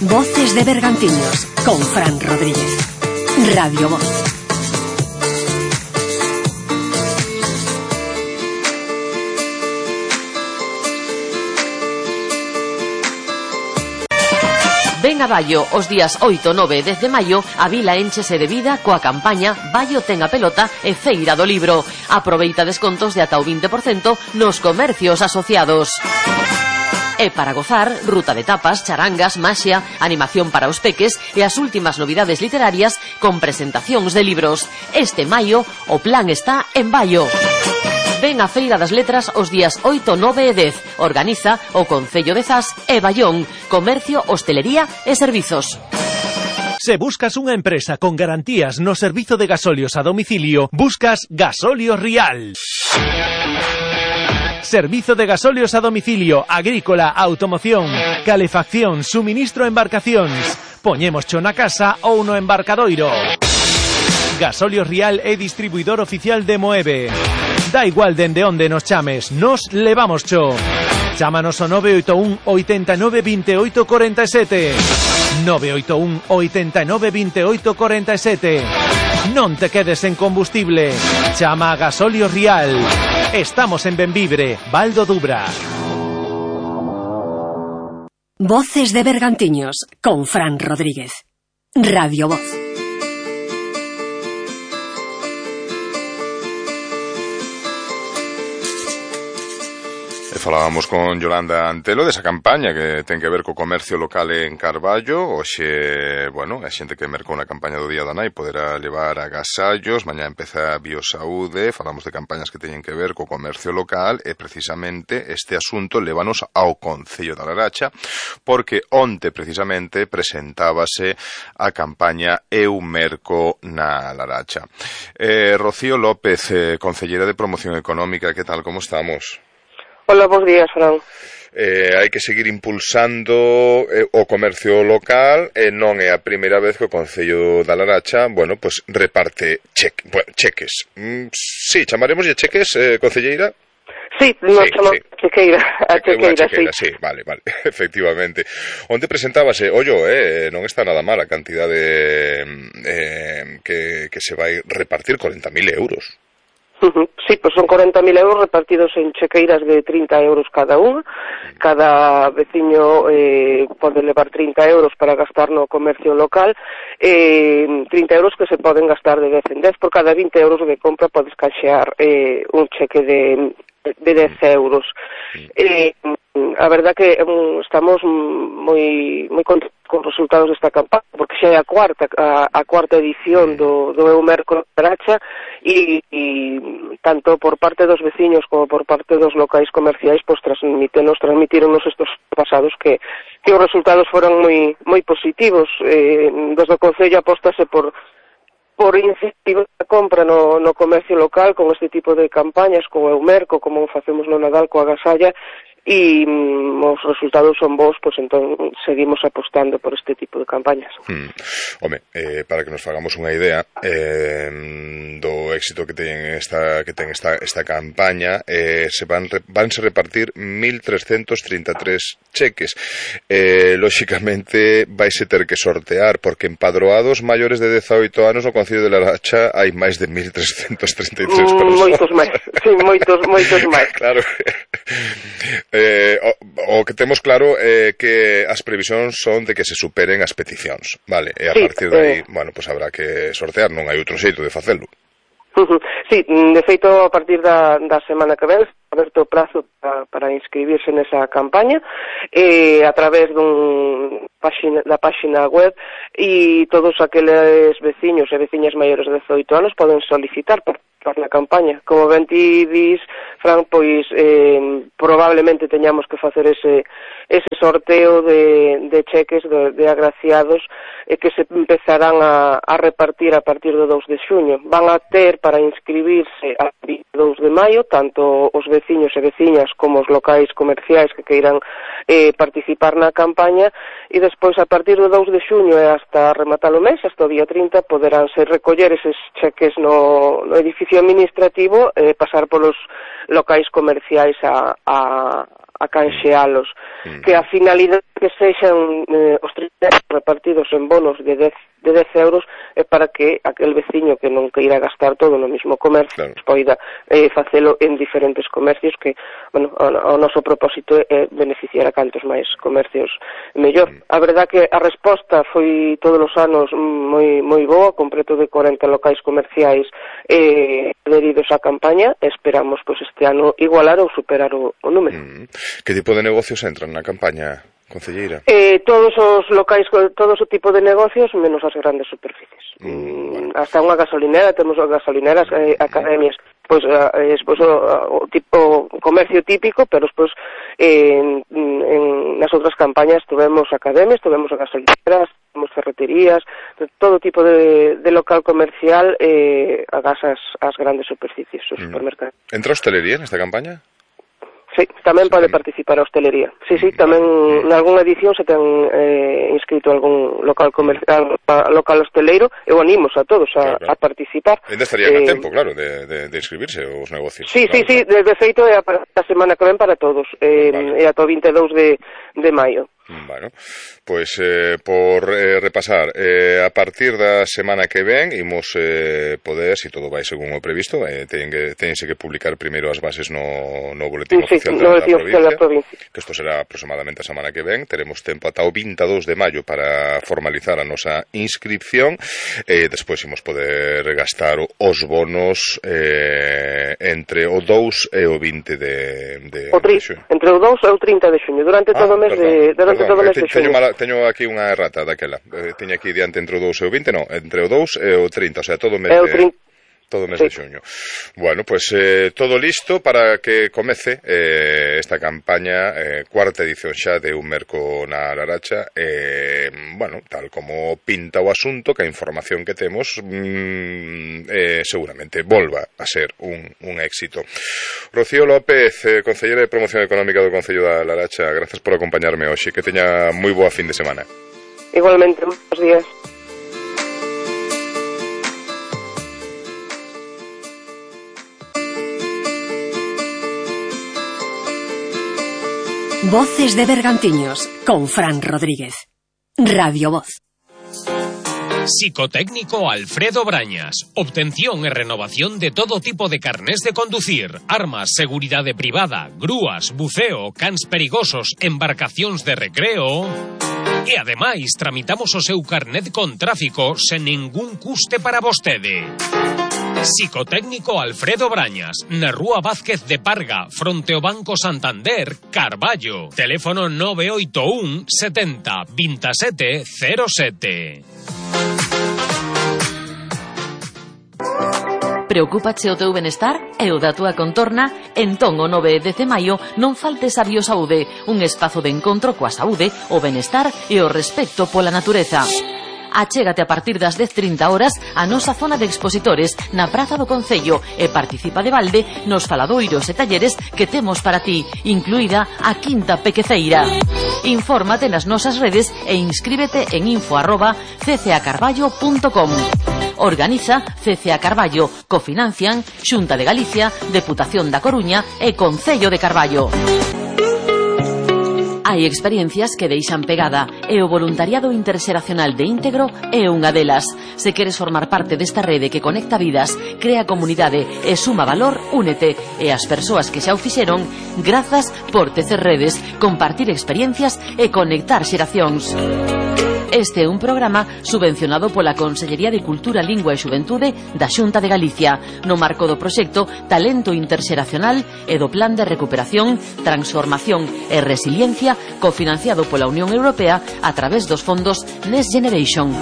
Voces de Bergantiños con Fran Rodríguez. Radio Voz. Ven a Baio os días 8, 9 e 10 de maio, a vila énchese de vida coa campaña Baio ten a pelota e Feira do Libro. Aproveita descontos de ata o 20% nos comercios asociados. E para gozar, ruta de tapas, charangas, maxia, animación para os peques e as últimas novidades literarias con presentacións de libros. Este maio, o plan está en Baio. Ven a Feira das Letras os días 8, 9 e 10. Organiza o Concello de Zas e Baión. Comercio, hostelería e servizos. Se buscas unha empresa con garantías no servizo de gasolios a domicilio, buscas Gasolios Rial. Servizo de gasolios a domicilio, agrícola, automoción, calefacción, suministro a embarcacións. Poñémoscho na casa ou no embarcadoiro. Gasolios Rial é distribuidor oficial de Moeve. Da igual dende onde nos chames, nos levamos cho. Chámanos ao 981 89 28 47. 981 89 28 47. Non te quedes en combustible. Chama a Gasolios Rial. Estamos en Benvibre, Val do Dubra. Voces de Bergantiños con Fran Rodríguez. Radio Voz. Falábamos con Yolanda Antelo desa campaña que ten que ver co comercio local en Carballo. Hoxe, bueno, a xente que mercou na campaña do Día da Nai poderá levar agasallos. Mañá empeza a Biosaúde. Falamos de campañas que teñen que ver co comercio local e precisamente este asunto lévanos ao Concello da Laracha, porque onte precisamente presentábase a campaña Eu Merco na Laracha. Rocío López, concelleira de Promoción Económica, que tal, como estamos? Hola, bons días, Fran. Hai que seguir impulsando o comercio local e non é a primeira vez que o Concello da Laracha, bueno, pues reparte cheques. Sí, chamaremoslle cheques, concelleira? Sí, nos chamamos chequeira, a chequeira, sí. Vale, efectivamente. Onde presentábase, non está nada mal a cantidade que se vai repartir, 40.000 euros. Sí, pues son 40.000 euros repartidos en chequeiras de 30 euros cada unha. Cada veciño pode levar 30 euros para gastar no comercio local. 30 euros que se poden gastar de 10 en 10. Por cada 20 euros de compra podes canxear un cheque de 10 euros. A verdad que estamos moi contentos con os resultados desta campaña, porque xa é a cuarta edición do Eu Merco na Laracha e tanto por parte dos veciños como por parte dos locais comerciais pois transmitironos estos pasados que os resultados foron moi positivos. Desde o Concello apóstase por incentivar a compra no comercio local con este tipo de campañas, co Eu Merco, como facemos no Nadal coa agasalla, e os resultados son bons, pois entón seguimos apostando por este tipo de campañas. Para que nos fagamos unha idea do éxito que ten esta campaña, vanse repartir 1.333 cheques. Lóxicamente vaise ter que sortear, porque empadroados maiores de 18 anos no Concello de Laracha hai máis de 1.333 personas. Moitos máis, sí, moitos máis. Claro. O que temos claro é que as previsións son de que se superen as peticións, vale? E a partir de aí, bueno, pues habrá que sortear, non hai outro xeito de facelo. Sí, de feito, a partir da semana que ven, aberto o prazo para inscribirse nesa campaña a través da páxina web, e todos aqueles veciños e veciñas maiores de 18 anos poden solicitar participar na campaña. Como ben ti dis, Fran, pois probablemente teñamos que facer ese sorteo de cheques de agraciados que se empezarán a repartir a partir do 2 de xuño. Van a ter para inscribirse a 22 de maio tanto os veciños e veciñas como os locais comerciais que queiran participar na campaña, e despois a partir do 2 de xuño e hasta rematar o mes, hasta o día 30, poderánse recoller eses cheques no edificio administrativo e pasar polos locais comerciais a canxealos, que a finalidade que sexan os 30 repartidos en bonos de 10 euros é para que aquel veciño que non queira gastar todo no mismo comercio poida facelo en diferentes comercios, que, bueno, o noso propósito é beneficiar a cantos máis comercios mellor. A verdad que a resposta foi todos os anos moi boa, con preto de 40 locais comerciais adheridos á campaña. Esperamos pois este ano igualar ou superar o número. Que tipo de negocios entran na campaña, concelleira? Todos os locais, todo o tipo de negocios, menos as grandes superficies. Hasta unha gasolinera, temos gasolineras, academias, pois o tipo comercio típico, pero despois nas outras campañas tuvemos academias, tuvemos gasolineras, tuvemos ferreterías, todo tipo de local comercial agás as grandes superficies, os supermercados. Entra hostelería nesta campaña? Sí, tamén pode participar a hostelería. Sí, tamén nalgúna edición se ten inscrito algún local comercial, local hosteleiro. Eu animos a todos a participar. Ainda estarían a tempo, claro, de inscribirse os negocios. Sí, de feito é a semana que ven para todos, é ata o 22 de maio. Bueno, pois por repasar, a partir da semana que ven imos poder, se todo vai según o previsto, tense que publicar primeiro as bases no boletín oficial da provincia, que isto será aproximadamente a semana que ven. Teremos tempo ata o 22 de maio para formalizar a nosa inscripción, despois imos poder gastar os bonos entre o 2 e o 20 de xuño. Entre o 2 e o 30 de xuño, durante todo o mes de teño aquí unha errata daquela. Teño aquí diante entre o 2 e o 20, non, entre o 2 e o 30, o sea, todo o mes de xuño. Bueno, pues todo listo para que comece esta campaña, cuarta edición xa de Un Merco na Laracha. Bueno, tal como pinta o asunto, que a información que temos seguramente volva a ser un éxito. Rocío López, concelleira de Promoción Económica do Concello da Laracha, gracias por acompañarme hoxe, que teña moi boa fin de semana. Igualmente, buenos días. Voces de Bergantiños, con Fran Rodríguez. Radio Voz. Psicotécnico Alfredo Brañas. Obtención e renovación de todo tipo de carnés de conducir, armas, seguridade privada, grúas, buceo, cans perigosos, embarcacións de recreo. E ademais tramitamos o seu carnet con tráfico sen ningún custe para vostede. Psicotécnico Alfredo Brañas, na Rúa Vázquez de Parga, fronte ao Banco Santander, Carballo. Teléfono 981 70 27 07. Preocúpache o teu benestar e o da túa contorna? Entón o 9 de maio non faltes a Biosaude, un espazo de encontro coa saúde, o benestar e o respecto pola natureza. Achégate a partir das 10:30 horas a nosa zona de expositores na Praza do Concello e participa de balde nos faladoiros e talleres que temos para ti, incluída a Quinta Pequeceira. Infórmate nas nosas redes e inscríbete en info@ccacarballo.com. Organiza CCA Carballo, cofinancian Xunta de Galicia, Deputación da Coruña e Concello de Carballo. Hai experiencias que deixan pegada e o voluntariado interxeracional de Íntegro é unha delas. Se queres formar parte desta rede que conecta vidas, crea comunidade e suma valor, únete. E as persoas que xa o fixeron, grazas por tecer redes, compartir experiencias e conectar xeracións. Este é un programa subvencionado pola Consellería de Cultura, Lingua e Xuventude da Xunta de Galicia, no marco do proxecto Talento Interxeracional e do Plan de Recuperación, Transformación e Resiliencia, cofinanciado pola Unión Europea a través dos fondos Next Generation.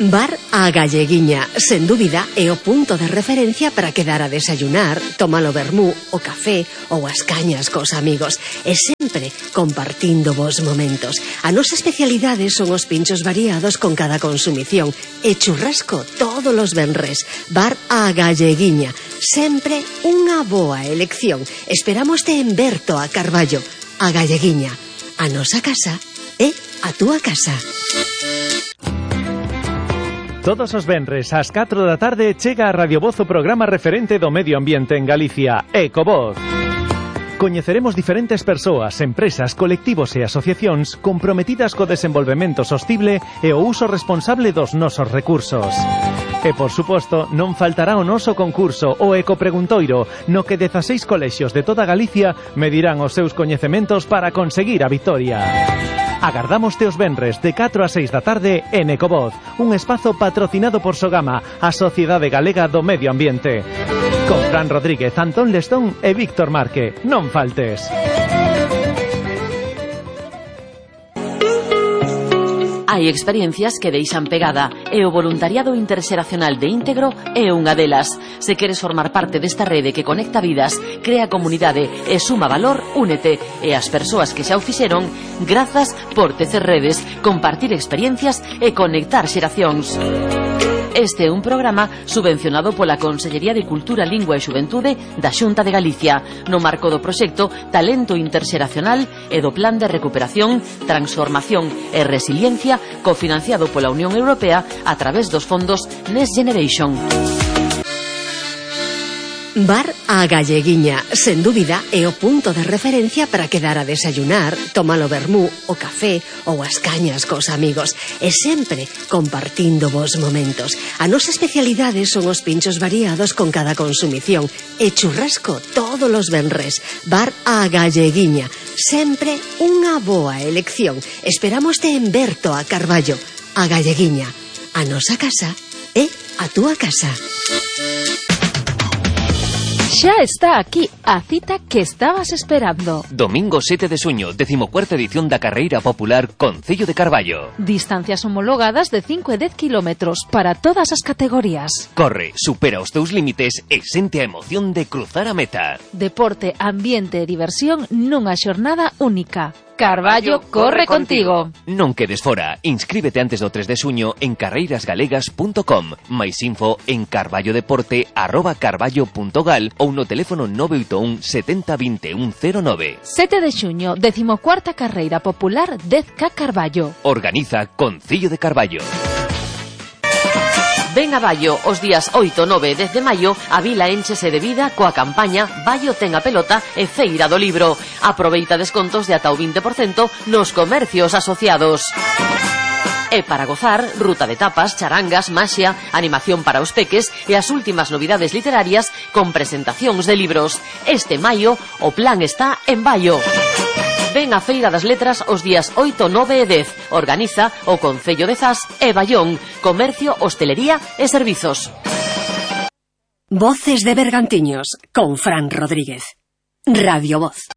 Bar A Galleguiña, sen dúbida, é o punto de referencia para quedar a desayunar, tomar o vermú, o café ou as cañas cos amigos, e sempre compartindo vos momentos. A nosa especialidade son os pinchos variados con cada consumición e churrasco todos os venres. Bar A Galleguiña, sempre unha boa elección. Esperámoste en Berto a Carballo. A Galleguiña, a nosa casa é a túa casa. Todos os venres ás 4 da tarde chega a Radio Voz o programa referente do medio ambiente en Galicia, Ecovoz. Coñeceremos diferentes persoas, empresas, colectivos e asociacións comprometidas co desenvolvemento sostible e o uso responsable dos nosos recursos. E, por suposto, non faltará o noso concurso, o Ecopreguntoiro, no que 16 colexios de toda Galicia medirán os seus coñecementos para conseguir a vitoria. Agardámoste os venres de 4 a 6 da tarde en Ecovoz, un espazo patrocinado por Sogama, a Sociedade Galega do Medio Ambiente. Con Fran Rodríguez, Antón Lestón e Víctor Marque. Non faltes. Hai experiencias que deixan pegada e o voluntariado interxeracional de Íntegro é unha delas. Se queres formar parte desta rede que conecta vidas, crea comunidade e suma valor, únete. E as persoas que xa o fixeron, grazas por tecer redes, compartir experiencias e conectar xeracións. Este é un programa subvencionado pola Consellería de Cultura, Lingua e Xuventude da Xunta de Galicia, no marco do proxecto Talento Interxeracional e do Plan de Recuperación, Transformación e Resiliencia, cofinanciado pola Unión Europea a través dos fondos Next Generation. Bar A Galleguiña, sen dúbida, é o punto de referencia para quedar a desayunar, tomar o vermú, o café ou as cañas cos amigos, e sempre compartindo vos momentos. A nosa especialidade son os pinchos variados con cada consumición e churrasco todos os venres. Bar A Galleguiña, sempre unha boa elección. Esperámoste en Berto a Carballo. A Galleguiña, a nosa casa é a túa casa. Xa está aquí a cita que estabas esperando. Domingo 7 de xuño, 14ª edición da Carreira Popular Concello de Carballo. Distancias homologadas de 5 e 10 kilómetros para todas as categorías. Corre, supera os teus límites e sente a emoción de cruzar a meta. Deporte, ambiente e diversión nunha xornada única. Carballo corre contigo. Non quedes fora. Inscríbete antes do 3 de xuño en carreirasgalegas.com. Mais info en carballodeporte@carballo.gal ou no teléfono 981 70 21 09. 7 de xuño, 14ª Carreira Popular 10K Carballo. Organiza Concello de Carballo. Ven a Baio os días 8, 9 e 10 de maio, a vila énchese de vida coa campaña Baio ten a pelota e Feira do Libro. Aproveita descontos de ata o 20% nos comercios asociados. E para gozar, ruta de tapas, charangas, maxia, animación para os peques e as últimas novidades literarias con presentacións de libros. Este maio, o plan está en Baio. Ven a Feira das Letras os días 8, 9 e 10. Organiza o Concello de Zas e Baión. Comercio, hostelería e servizos. Voces de Bergantiños con Fran Rodríguez. Radio Voz.